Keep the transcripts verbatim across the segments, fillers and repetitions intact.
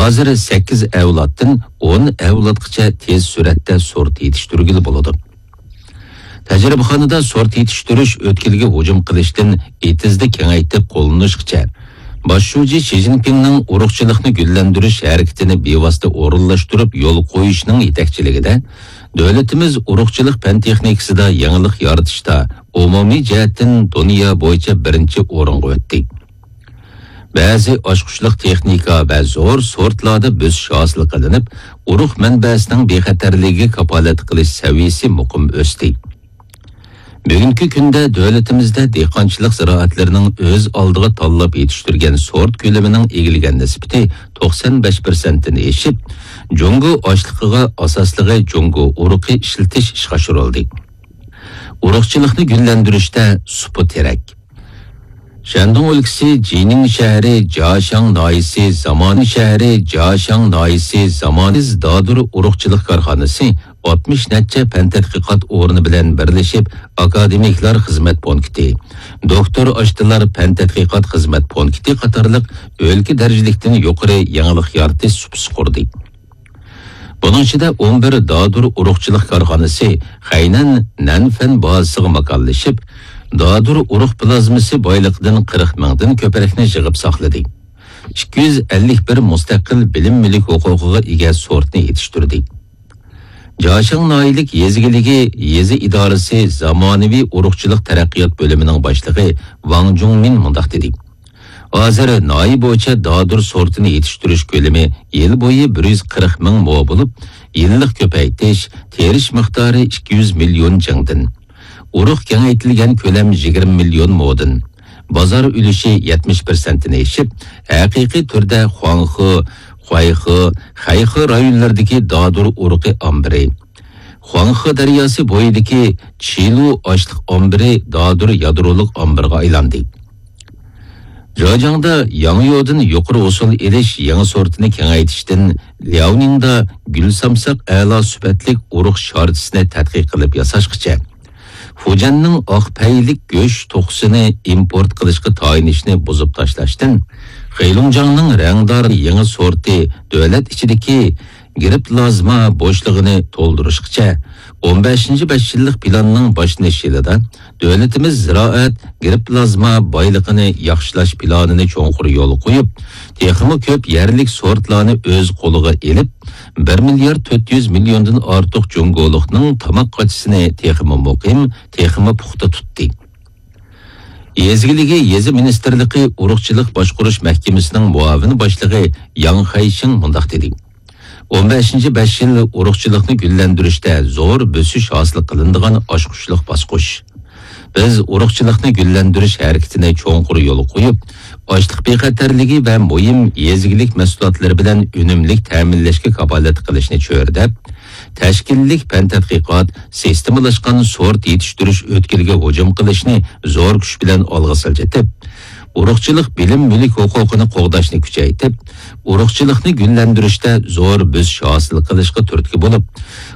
ھازىر سەككىز ئەۋلادتىن ئون ئەۋلادقىچە تېز سۈرئەتتە سورت يېتىشتۈرگىلى بولىدۇ. تەجرىبىخانىدا سورت يېتىشتۈرۈش ئۆتكىلىگە ھۇجۇم قىلىشتىن ئېتىزدا كېڭەيتىپ قوللىنىشقىچە، باش شۇجى شى جىنپىڭنىڭ ئۇرۇقچىلىقنى گۈللەندۈرۈش ھەرىكىتىنى بىۋاسىتە ئورۇنلاشتۇرۇپ يول قويۇشنىڭ يېتەكچىلىكىدە، دۆلىتىمىز ئۇرۇقچىلىق پەن تېخنىكىسىدا يېڭىلىق يارىتىشتا ئومۇمىي جەھەتتىن دۇنيا بويىچە بىرىنچى ئورۇنغا ئۆتتى. بەزى ئاچقۇچلۇق تېخنىكا ۋە زور سورتلاردا بۆسۈش ھاسىل قىلىنىپ، ئۇرۇق مەنبەسىنىڭ بىخەتەرلىكىگە كاپالەتلىك قىلىش سەۋىيەسى مۇقىم ئۆستى. بۈگۈنكى كۈندە دۆلىتىمىزدە دېھقانچىلىق زىرائەتلىرىنىڭ ئۆز ئالدىغا تاللاپ يېتىشتۈرگەن سورت كۆلىمىنىڭ ئىگىلىگەن نىسبىتى توقسان بەش پىرسەنتتىن ئېشىپ، جۇڭگو ئاشلىقىغا ئاساسلىقى جۇڭگو ئۇرۇقى ئىشلىتىش ئىشقا ئاشۇرۇلدى. ئۇرۇقچىلىقنى گۈللەندۈرۈشتە سۇپا تېرەك. شەندۇڭ ئۆلكىسى جىنىڭ شەھىرى جياشاڭ ناھىيىسى زامانىۋى شەھىرى جياشاڭ ناھىيىسى زامانىز دادۇر ئۇرۇقچىلىق كارخانىسى ئاتمىش نەچچە پەن تەتقىقات ئورنى بىلەن بىرلىشىپ، ئاكادېمىكلار خىزمەت پونكىتى، دوكتور ئاشتىلار پەن تەتقىقات خىزمەت پونكىتى قاتارلىق ئۆلكە دەرىجىلىكتىن يۇقىرى يېڭىلىق يارىتىش سۇپىسى قۇردى. بۇنىڭ ئىچىدە ئون بىر دادۇر ئۇرۇقچىلىق كارخانىسى خەينەن نەنفەن بازىسىغا ماكانلىشىپ، دادۇر ئۇرۇق پلازمىسى بايلىقىدىن قىرىق مىڭدىن كۆپرەكنى يىغىپ ساقلىدى. ئىككى يۈز ئەللىك بىر مۇستەقىل بىلىم مۈلۈك ھوقۇقىغا ئىگە سورتنى يېتىشتۈردى. جاشاڭ ناھىيەلىك يېزا ئىگىلىكى يېزا ئىدارىسى زامانىۋى ئۇرۇقچىلىق تەرەققىيات بۆلۈمىنىڭ باشلىقى ۋاڭ جۇڭمىن مۇنداق دېدى. ھازىر ناھىيە بويىچە دادۇر سورتىنى يېتىشتۈرۈش كۆلىمى يىل بويى بىر يۈز قىرىق مىڭ مو بولۇپ، يىللىق كۆپەيتىش، تېرىش مىقدارى ئىككى يۈز مىليون جىڭدىن، ئۇرۇق كېڭەيتىلگەن كۆلەم يىگىرمە مىليون مودىن، بازار ئۈلۈشى يەتمىش پىرسەنتتىن ئېشىپ، ھەقىقىي تۈردە خۇاڭخې، خۇەيخې، خەيخې رايونلىرىدىكى دادۇر ئۇرۇقى ئامبىرى، خۇاڭخې دەرياسى بويىدىكى چىلۇ ئاشلىق ئامبىرى دادۇر يادرولۇق ئامبىرىغا ئايلاندى. جاجاڭدا ياڭيودىن يۇقىرى ھوسۇل ئېلىش يېڭى سورتىنى كېڭەيتىشتىن لياۋنىڭدا گۈل سامساق ئەلا سۈپەتلىك ئۇرۇق شارتىسىنى تەتقىق قىلىپ ياساشقىچە، فۇجيەننىڭ ئاق پەيلىك گۆش توخۇسىنى ئىمپورت قىلىشقا تايىنىشنى بۇزۇپ تاشلاشتىن، خېيلۇڭجاڭنىڭ رەڭدار يېڭى سورتى دۆلەت ئىچىدىكى گېرىپلازما بوشلۇقىنى تولدۇرۇشقىچە، ئون بەشىنچى بەش يىللىق پىلاننىڭ باشلىنىش يىلىدا دۆلىتىمىز زىرائەت، گېرىپلازما بايلىقىنى ياخشىلاش پىلانىنى چوڭقۇر يولغا قويۇپ، تېخىمۇ كۆپ يەرلىك سورتلارنى ئۆز قولىغا ئېلىپ، بىر مىليارد تۆت يۈز مىليوندىن ئارتۇق جۇڭگولۇقنىڭ تاماق قاچىسىنى تېخىمۇ مۇقىم، تېخىمۇ پۇختا تۇتتى. يېزا ئىگىلىكى يېزا مىنىستىرلىقى ئۇرۇقچىلىق باشقۇرۇش مەھكىمىسىنىڭ مۇئاۋىن باشلىقى ياڭ خەيشىڭ مۇنداق دېدى. ئون بەشىنچى بەش يىل ئۇرۇقچىلىقنى گۈللەندۈرۈشتە زور بۆسۈش ھاسىل قىلىنىدىغان ئاچقۇچلۇق باسقۇچ. بىز ئۇرۇقچىلىقنى گۈللەندۈرۈش ھەرىكىتىنى چوڭقۇر يولغا قويۇپ، ئاشلىق بىخەتەرلىكى ۋە مۇھىم يېزا ئىگىلىك مەھسۇلاتلىرى بىلەن ئۈنۈملۈك تەمىنلەشكە كاپالەتلىك قىلىشنى چۆرىدەپ، تەشكىللىك پەن تەتقىقات، سىستېمىلاشقان سورت يېتىشتۈرۈش ئۆتكىلىگە ھۇجۇم قىلىشنى زور كۈچ بىلەن ئالغا سىلجىتىپ، ئۇرۇقچىلىق بىلىم مۈلۈك ھوقۇقىنى قوغداشنى كۈچەيتىپ، ئۇرۇقچىلىقنى گۈللەندۈرۈشتە زور بۆسۈش ھاسىل قىلىشقا تۈرتكە بولۇپ،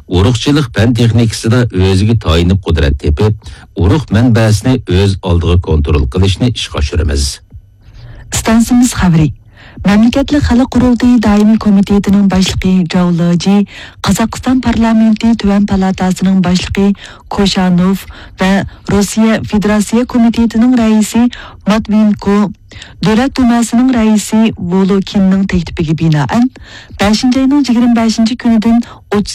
ئۇرۇقچىلىق پەن تېخنىكىسىدا ئۆزىگە تايىنىپ قۇدرەت تېپىپ، ئۇرۇق مەنبەسىنى ئۆز ئالدىغا كونترول قىلىشنى ئىشقا ئاشۇرىمىز. ئىستانسىمىز خەۋىرى. مەملىكەتلىك خەلق قۇرۇلتىيى دائىمىي كومىتېتىنىڭ باشلىقى جاۋ لېجى، قازاقىستان پارلامېنتى تۆۋەن پالاتاسىنىڭ باشلىقى كوشانوف ۋە روسىيە فېدېراتسىيە كومىتېتىنىڭ رەئىسى ماتۋىنكو، دۆلەت دۇماسىنىڭ رەئىسى ۋولوكىننىڭ تەكلىپىگە بىنائەن، بەشىنچى ئاينىڭ يىگىرمە بەشىنچى كۈنىدىن ئوتتۇز